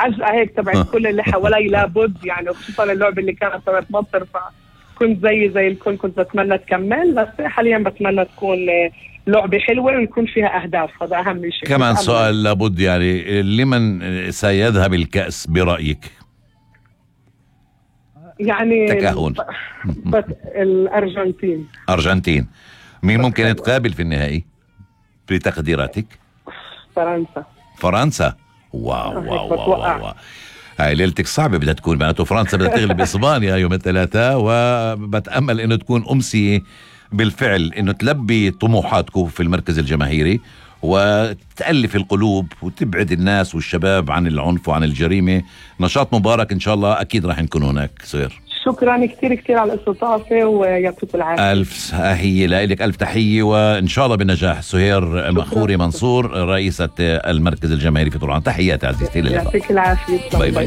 عجقة هيك تبعت كل اللي حوالي لابد يعني، وخصوصا اللعبة اللي كانت تبعت مصر، فكنت زي الكل كنت بتمنى تكمل، بس حاليا بتمنى تكون لعبة حلوة ويكون فيها أهداف، هذا أهم شيء. كمان سؤال لابد يعني، لمن سيذهب الكأس برأيك؟ يعني تكهن. بس الأرجنتين. أرجنتين. مين ممكن يتقابل في النهائي بتقديراتك؟ فرنسا. واو. هاي ليلتك صعبة بدها تكون، معناته فرنسا بدها تغلب إسبانيا يوم الثلاثاء، وبتأمل إنه تكون أمسية بالفعل، إنه تلبي طموحاتكم في المركز الجماهيري وتألف القلوب وتبعد الناس والشباب عن العنف وعن الجريمة. نشاط مبارك إن شاء الله، أكيد راح نكون هناك. سهير شكرا كتير على الاستضافة ويعطيكم العافية. ألف تحية لك، ألف تحية وإن شاء الله بالنجاح. سهير مخوري منصور، رئيسة المركز الجماهيري في طوران، تحياتي عزيزتي. يعطيك العافية. باي باي.